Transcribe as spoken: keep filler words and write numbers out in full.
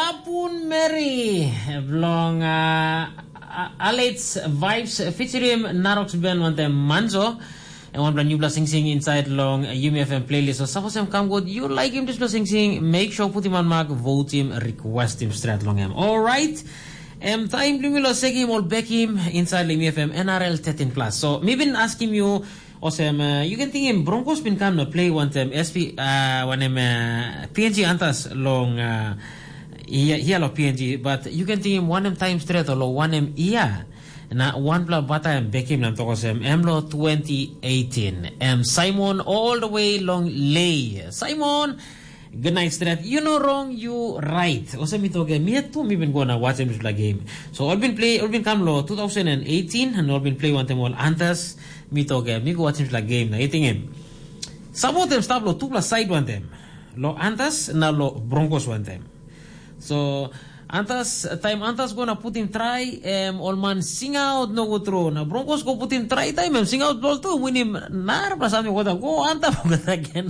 Apun Mary bilong uh, Alex Vibes featuring Narox Ben wantem Manzo. And wanpela newpela singsing inside long uh, Yumi F M playlist. So suppose em kam good, you like him dispela singsing, make sure put him on mark, vote him, request him straight long him. Alright. Em taim bilong mi lo sekim ol bekim inside long Yumi F M N R L thirteen plus. So mi bin askim you, Osem, uh, you can tingim Broncos bin kam na play wantem S P, uh, wanem uh, P N G antas long uh, ia, ia lo P N G, but you can tingim wanem time straight lo wanem ia. Na wanpela bata em bekim nam tokosem em lo twenty eighteen. Em Simon all the way long lay. Simon, good night straight. You know wrong, you right. Osem mi toke, mi tu mi bin go na watch em game. So all been play, all been come lo two thousand eighteen and all been play wantem all antas. Mi tok em, mi go watchim dispela game na eting em. Sabotem stap lo tupela side wantem. Lo Antas na lo Broncos wantem. So Antas, taim Antas go na putim trai, em ol man singaut nogut tru. Na Broncos go putim trai taim em singaut bol tu, winim narapela samting kota go antap kota gen.